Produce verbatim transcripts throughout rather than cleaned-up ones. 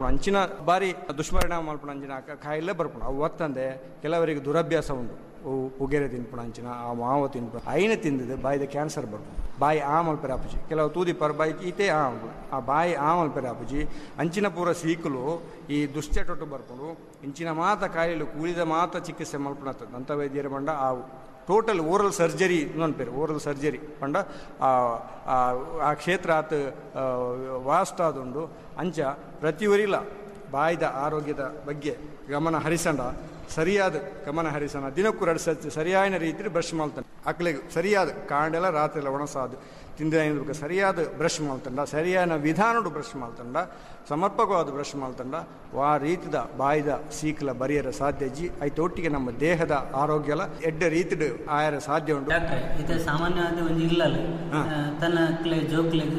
ಅಂಚಿನ ಬಾರಿ ದುಷ್ಪರಿಣಾಮ ಮಲ್ಪುನ ಅಂಚಿನ ಕಾಯಿಲೆ ಬರ್ಪುಂಡು. ಅವು ಒತ್ತಂದೆ ಕೆಲವರಿಗೆ ದುರಭ್ಯಾಸ ಉಂಡು, ಅವು ಪುಗೆರೆ ತಿನ್ಪುಣ ಅಂಚಿನ ಆ ಮಾವ ತಿನ್ಪುಣ ಐನ ತಿಂದಿದ್ದು ಬಾಯಿದ ಕ್ಯಾನ್ಸರ್ ಬರ್ಪುಂಡು. ಬಾಯಿ ಆ ಮಲ್ಪೆರೆ ಆಪುಜಿ, ಕೆಲವು ತೂದಿಪ್ಪರ್ ಬಾಯಿ ಈತೆ ಆ ಆ ಬಾಯಿ ಆ ಮಲ್ಪೆರೆ ಆಪುಜಿ. ಅಂಚಿನ ಪೂರ ಸೀಕುಲು ಈ ದುಶ್ಚಟೊಟ್ಟು ಬರ್ಪುಂಡು. ಇಂಚಿನ ಮಾತ ಕಾಯಿಲು ಕೂಲಿದ ಮಾತ ಚಿಕಿತ್ಸೆ ಮಲ್ಪುಣ ದಂತ ವೈದ್ಯರ ಪಂಡ ಆ ಟೋಟಲ್ ಓರಲ್ ಸರ್ಜರಿ ಅನ್ಪೇರು. ಓರಲ್ ಸರ್ಜರಿ ಪಂಡ ಆ ಕ್ಷೇತ್ರ ಆತ ವಾಸ್ಟ್ ಆದುಂಡು. ಅಂಚ ಪ್ರತಿಯೊರಿಲ ಬಾಯಿದ ಆರೋಗ್ಯದ ಬಗ್ಗೆ ಗಮನ ಹರಿಸಂಡ, ಸರಿಯಾದ ಗಮನ ಹರಿಸೋಣ. ದಿನಕ್ಕೂ ಎರಡು ಸರ್ತಿ ಸರಿಯಾದ ರೀತಿ ಬ್ರಷ್ ಮಾಡ್ತಾನೆ. ಅಕ್ಲೆಗ್ ಸರಿಯಾದ ಕಾಂಡೆಲ್ಲ ರಾತ್ರಿ ಒಣಸಾದು ತಿಂದ ಸರಿಯಾದ ಬ್ರಷ್ ಮಾಡ್ತಂಡ, ಸರಿಯಾದ ವಿಧಾನಡು ಬ್ರಷ್ ಮಾಡ್ತಂಡ, ಸಮರ್ಪಕವಾದ ಬ್ರಷ್ ಮಾಡ್ತಂಡ ಆ ರೀತಿದ ಬಾಯಿದ ಸೀಕಲ ಬರಿಯರ ಸಾಧ್ಯ ಜಿ. ಐತೊಟ್ಟಿಗೆ ನಮ್ಮ ದೇಹದ ಆರೋಗ್ಯಲ ಎಡ್ಡ ರೀತಿಡ್ ಆಯರ ಸಾಧ್ಯ ಉಂಟು. ಡಾಕ್ಟರ್, ಇದು ಸಾಮಾನ್ಯವಾದ ಒಂದು ಇಲ್ಲಲ್ಲ ತನ್ನ ಜೋಕ್ಲೆಗ್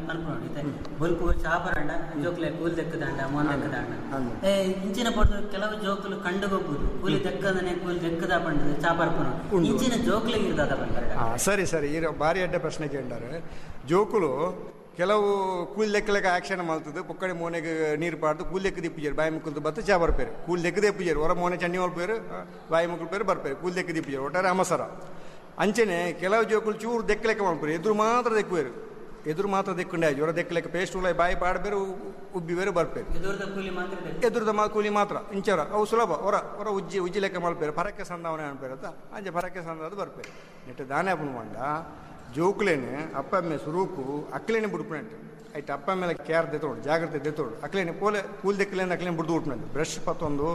ಪನ್ಪುಂಡು ಬೊಲ್ಪು ಚಾಪರಂಡ ಜೋಕ್ಲೆ ಕೂಲ್ ದೆಕ್ಕದಾಂಡ ಮೋನ್ ದೆಕ್ಕದಾಂಡ ಇಂಚಿನ ಪೊರ್ತು ಕೆಲವು ಜೋಕುಲು ಕಂಡು ಹೋಗ್ಬೋದು ಕೂಲಿ ದೆಕ್ಕದನೆ ಕೂಲಿ ದೆಕ್ಕದ ಪಂಡ ಚಾಪರ್ಪುನ ಇಂಚಿನ ಜೋಕ್ಲೆಗ್ ಇರ್ದಾದ ಪಂಡ. ಸರಿ ಸರಿ, ಈ ಭಾರಿ ಅಡ್ಡ ಪ್ರಶ್ನೆ ಕೇಂಡಾರೆ. ಜೋಕುಲು ಕೆಲವು ಕೂಲಿ ಲೆಕ್ಕಲೆಕ್ಕ ಆಕ್ಷನ್ ಮಲ್ತದ್ದು ಪೊಕ್ಕಡೆ ಮೋನೆಗೆ ನೀರು ಪಾಡ್ದು ಕೂಲಿ ಲೆಕ್ಕ ದಿಪ್ಪುಜೇರು ಬಾಯಿ ಮುಕ್ಕಲ್ದು ಬತ್ತು ಚಾ ಬರ್ಪೇರು. ಕೂಲಿ ಲೆಕ್ಕದೇ ಪೂಜಾರು ಹೊರ ಮೋನೆ ಚಂಡಿ ಮಲ್ಪೇರು ಬಾಯಿ ಮುಕ್ಕಲ್ಪೇರು ಬರ್ಪೇರು ಕೂಲಿ ಲೆಕ್ಕ ದಿಪ್ಪುಜೇರು ಒಟ್ಟಾರೆ ಅಮಸರ. ಅಂಚನೆ ಕೆಲವು ಜೋಕುಲು ಚೂರು ದೆಕ್ಕಲೆಕ್ಕ ಮಲ್ಪೇರು, ಎದುರು ಮಾತ್ರ ದೆಕ್ಕುವೇರು, ಎದುರು ಮಾತ್ರ ದೆಕ್ಕುಂಡೆ ಹೊರ ದೆಕ್ಕಲೆಕ್ಕ ಪೇಸ್ಟ್ ಉಲ್ಲ ಬಾಯಿ ಪಾಡಬೇರು ಉಬ್ಬಿ ಬೇರು ಬರ್ಪೇರು. ಎದುರುದ ಮಾ ಕೂಲಿ ಮಾತ್ರ ಇಂಚರ ಅವು ಸುಲಭ ಹೊರ ಹೊರ ಉಜ್ಜಿ ಉಜ್ಜಿ ಲೆಕ್ಕ ಮಲ್ಪೇರು ಪರಕ್ಕೆ ಸಂದಾವನೆ ಅನ್ಪೇರು ಅಂತ ಅಂಚೆ ಪರಕ್ಕೆ ಸಂದಾದ ಬರ್ಪೇರು. ನೆಟ್ಟು ದಾನೆ ಪುಣ್ವಂಡ ಜೋಕುಲೇನೆ ಅಪ್ಪಮ್ಮೆ ಸುರೂಕು ಅಕ್ಲೇನೆ ಬುಡ್ಪುನಂಟು ಐಟ್ ಅಪ್ಪ ಮೇಲೆ ಕೇರ್ ದೆತ್ತೋಡು ಜಾಗ್ರತೆ ದೆತ್ತೋಡು ಅಕ್ಲೇನೆ ಪೋಲೆ ಕೂಲ್ ದೆಕ್ಕಲೇನೆ ಅಕ್ಲೇನೆ ಬುಡ್ದು ಉಟ್ನಂಟು ಬ್ರಷ್ ಪತ್ತೊಂದು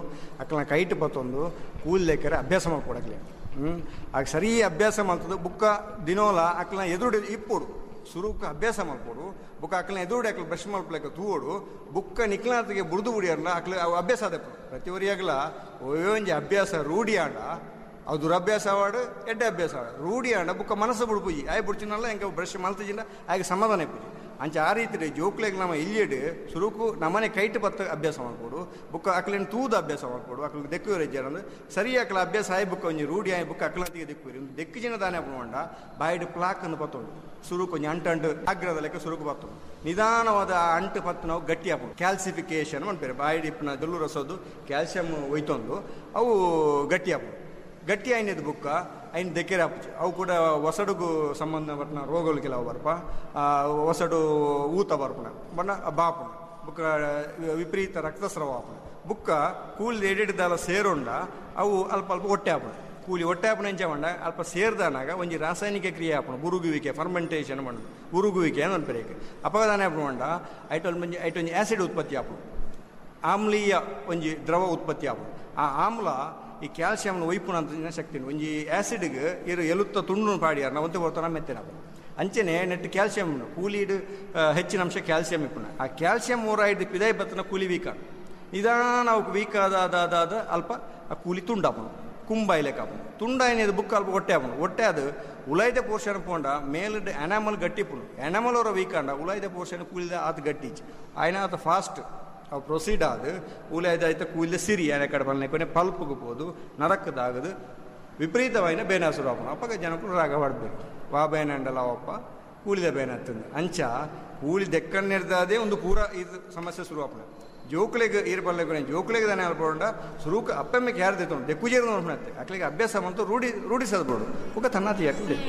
ಅಕ್ಲನ ಕೈಟ್ ಪತ್ತೊಂದು ಕೂಲ್ ದೆಕ್ಕರೆ ಅಭ್ಯಾಸ ಮಾಡ್ಕೊಡು ಅಕ್ಲೇನೆ. ಹ್ಞೂ ಆಗ ಸರಿ ಅಭ್ಯಾಸ ಮಾಡ್ತದೆ ಬುಕ್ಕ ದಿನೋಲ ಅಕ್ಲನ ಎದುರುಡೆ ಇಪ್ಪೋಡು ಸುರುಕ ಅಭ್ಯಾಸ ಮಲ್ಪೋಡು ಬುಕ್ಕ ಅಕ್ಲನ ಎದುರುಡೆ ಅಕ್ಲ ಬ್ರಷ್ ಮಲ್ಪಲೆಕ್ಕ ತೂವೋಡು ಬುಕ್ಕ ನಿಕ್ಲಾತಿಗೆ ಬುಡ್ದು ಬುಡಿಯರ್ಲ ಅಕ್ಲ ಅವು ಅಭ್ಯಾಸ ಆದಪ್ಪು. ಪ್ರತಿಯೊರಿಯಾಗಲ ಒಂಜಿ ಅಭ್ಯಾಸ ರೂಢಿ ಆಂಡ ಅವು ದುರಭ್ಯಾಸ ಆವಾಡು ಎಡ್ಡೆ ಅಭ್ಯಾಸ ಆವಾಡು ರೂಢಿ ಆಂಡ ಬುಕ್ಕ ಮನಸ್ಸು ಬುಡ್ಪುಜಿ ಆಯ್ ಬುಡ್ಚಿನಲ್ಲ ಎಂಕ ಬ್ರಷ್ ಮಲ್ತಜಿಂದ ಆಯ್ಕೆ ಸಮಾಧಾನ ಇಪ್ಪುಜಿ. ಅಂಚೆ ಆ ರೀತಿ ಜೋಕ್ಲೆಗ್ ನಮ್ಮ ಇಲ್ಲಿಡು ಸುರುಕು ನಮ್ಮನೆ ಕೈಟ್ ಪತ್ತ ಅಭ್ಯಾಸ ಮಾಡ್ಕೊಡು ಬುಕ್ಕ ಅಕ್ಲೇನು ತೂದ ಅಭ್ಯಾಸ ಮಾಡ್ಕೊಡು ಅಕ್ಲಿಗೆ ದೆಕ್ಕುವರು ಇಜ್ಜಾರಂದ್ರೆ ಸರಿ ಅಕ್ಲ ಅಭ್ಯಾಸ ಆಯ್ ಬುಕ್ಕ ಒಂಜಿ ರೂಢಿ ಆಯ್ ಬುಕ್ಕ ಅಕ್ಲತಿಗೆ ದೆಕ್ಕುವರು ಒಂದು ದೆಕ್ಕು ಜನ ದಾನೆ ಪುಂಡ ಬಾಯಿಡ್ ಪ್ಲಾಕ್ ಅನ್ನು ಪತ್ತೊಂಡು ಸುರುಕು ಒಂಜಿ ಅಂಟು ಅಂಟು ಆಗ್ರದ ಲೆಕ್ಕ ಸುರುಕು ಪತ್ತೊಂಡು ನಿಧಾನವಾದ ಆ ಅಂಟು ಪತ್ತು ನಾವು ಗಟ್ಟಿ ಹಾಪುಂಡು ಕ್ಯಾಲ್ಸಿಫಿಕೇಶನ್ ಅನ್ಪೇರು ಬಾಯಿಡ್ ಇಪ್ಪನ ದೊಲ್ಲು ರಸೋದು ಕ್ಯಾಲ್ಸಿಯಂ ಒಯ್ತೊಂದು ಅವು ಗಟ್ಟಿ ಹಾಪುಂಡು. ಗಟ್ಟಿ ಆಯ್ನದು ಬುಕ್ಕ ಐನ್ ದೆಕ್ಕೆರೆ ಆಪುಜಿ ಅವು ಕೂಡ ಒಸಡುಗು ಸಂಬಂಧಪಟ್ಟ ರೋಗಗಳು ಕೆಲವು ಬರ್ಪ ಒಸಡು ಊತ ಬರ್ಪುಣ ಬಣ್ಣ ಬಾಪುಣ ಬುಕ್ಕ ವಿಪರೀತ ರಕ್ತಸ್ರಾವ ಆಪುಣ ಬುಕ್ಕ ಕೂಲಿ ಎಡೆಡ್ದಾಲ ಸೇರುಂಡ ಅವು ಅಲ್ಪ ಅಲ್ಪ ಹೊಟ್ಟೆ ಆಪುಣ ಕೂಲಿ ಹೊಟ್ಟೆ ಆಪುಣ ಎಂಚ ಮಂಡ ಅಲ್ಪ ಸೇರ್ದಾನಾಗ ಒಂಜಿ ರಾಸಾಯನಿಕ ಕ್ರಿಯೆ ಆಪುಣ ಉರುಗುವಿಕೆ ಫರ್ಮೆಂಟೇಷನ್ ಮಂಡು ಉರುಗುವಿಕೆ ಅನ್ಪೇರು ಅಪಗದಾನೆ ಆಪುಣ ಮಂಡ ಐಟೊಂದು ಒಂಜಿ ಐಟೊಂಜಿ ಆ್ಯಸಿಡ್ ಉತ್ಪತ್ತಿ ಆಪುಣ ಆಮ್ಲೀಯ ಒಂಜಿ ದ್ರವ ಉತ್ಪತ್ತಿ ಆಪುಣ ಆ ಆಮ್ಲ ಈ ಕ್ಯಾಲ್ಸಿಯಂನ ಒಯ್ಪುನ ಅಂತ ಶಕ್ತಿ ಒಂಜಿ ಆ್ಯಸಿಡ್ಗೆ ಇರು ಎಲುತ್ತ ತುಂಡು ಪಾಡಿಯಾರ ನಾವು ಒಂತೆ ಬರ್ತಾನ ಮೆತ್ತೆನ ಅಂಚನೆ ನೆಟ್ ಕ್ಯಾಲ್ಸಿಯಂ ಕೂಲಿಡ್ ಹೆಚ್ಚಿನ ಅಂಶ ಕ್ಯಾಲ್ಸಿಯಂ ಇಪ್ಪುನ ಆ ಕ್ಯಾಲ್ಸಿಯಂ ಓರಾಯ್ದು ಪಿದಾಯಿ ಬತ್ತನ ಕೂಲಿ ವೀಕ ನಿಧಾನ ಅವಕ್ಕೆ ವೀಕ್ ಆದ ಆದ ಆದ ಅಲ್ಪ ಆ ಕೂಲಿ ತುಂಡಾಪುಣ ಕುಂಬಾಯ್ಲೆಕ್ಕ ಆಪುಣ ತುಂಡಾಯಿನದು ಬುಕ್ ಅಲ್ಪ ಹೊಟ್ಟೆ ಆಪುಣ ಹೊಟ್ಟೆ ಅದು ಉಲಾಯ್ದ ಪೋರ್ಷನ್ ಪೋಂಡ ಮೇಲಿಡ್ ಎನಾಮಲ್ ಗಟ್ಟಿಪುಣ ಎನಾಮಲ್ ಅವರ ವೀಕ್ ಆಂಡ ಉಲಾಯ್ದ ಪೋರ್ಷನ್ ಕೂಲಿದ ಆತ ಗಟ್ಟಿ ಆಯ್ನ ಆತ ಫಾಸ್ಟ್ ಅವು ಪ್ರೊಸೀಡ್ ಆದ ಉಲಾಯ್ದ ಕೂಲಿದ ಸಿರಿ ಆನೆ ಕಡೆ ಬಲ್ನೆ ಕೊನೆ ಪಲ್ಪುಗೆ ಪೋದು ನರಕದಾಗದು ವಿಪರೀತವಾಯಿನ ಬೇನಾಸುರು ಆಪುಣ ಅಪ್ಪಗ ಜನಕ್ಕೂ ರಾಗ ಪಡಬೇಕು ವಾ ಬೇನ ಅಂಡಲ ಅವಪ್ಪ ಕೂಲಿದ ಬೇನ ಹತ್ತಂದು ಅಂಚ ಕೂಲಿ ದೆಕ್ಕನ್ನಿರ್ದಾದೆ ಒಂದು ಪೂರ ಇದು ಸಮಸ್ಯೆ ಶುರು ಆಪುಣ ಜೋಕ್ಲೆಗ್ ಈರ್ ಬಲ್ಲೆ ಜೋಕ್ಲೆಗ್ ದಾನೆ ಅಲ್ಪೋಂಡ ಸುರುಕು ಅಪ್ಪಮ್ಮೆಗೆ ಯಾರು ದೆತ್ತೊಂಡು ದೆಕ್ಕುಜೇರು ನೋಡ್ಪುಣತ್ತೆ ಅಕ್ಲೆಗೆ ಅಭ್ಯಾಸ ಬಂತು ರೂಢಿ ರೂಢಿಸದ್ಬೋಡು ಬೊಕ ತನ್ನಾತಿ ಯಾಕೆ